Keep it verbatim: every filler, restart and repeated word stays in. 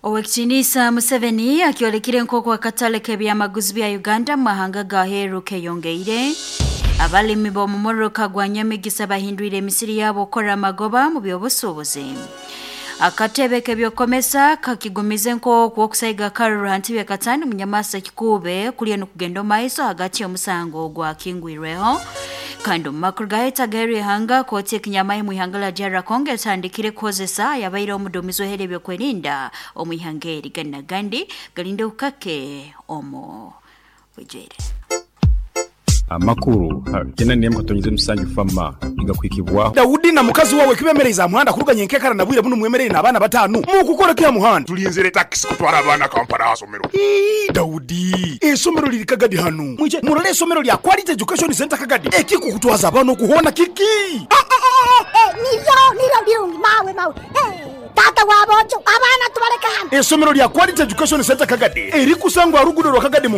Owekitinisa Museveni akiolekire nk'oku akatale k'ebyamaguzi bya Uganda mu mahanga ga heru keyongeire. Abalimi b'omumoroka gwa Nyamigisa bahindwire emisiri yabo okukora amagoba mu by'obusuubuzi. Akatebe k'ebyokomesa kakigumize nk'oku okusaiga Karuru ha ntebe katano munyamasa kikube kulya nokugenda omaiso hagati y'omusango ogwakingwirweho. Kandi omu makuru gaheta g'eru ihanga, kooti ekinyamahe mu ihanga lya D R Congo etandikire kukozesa yabaire omuduumizi w'ehere ebyokwerinda omu ihanga eri. Gandi na gandi galinde ukake omu bwijwire. Amakuru kenda nemu katonyeze musanju fama igakwikibwaho. Dawudi na mukazi wawe kibemereza muhanda kuruganya enkekara na bwire buno mwemerere n'abaana batanu mukukora kya muhanda. Tulinzire takisi kutwara abaana Kampala hasomero. Ii, Dawudi, esomero liri Kagadi hanu, mwije murole esomero lya Quality Education Center Kagadi. Ekikukutwaza abaana okuhona kiki? Niryo niryo birungi mawe mawe. Eh, tata wabojo abaana tubaleka hano. Esomero lya Quality Education Center Kagadi erikusangwa rugudo rwa Kagadi.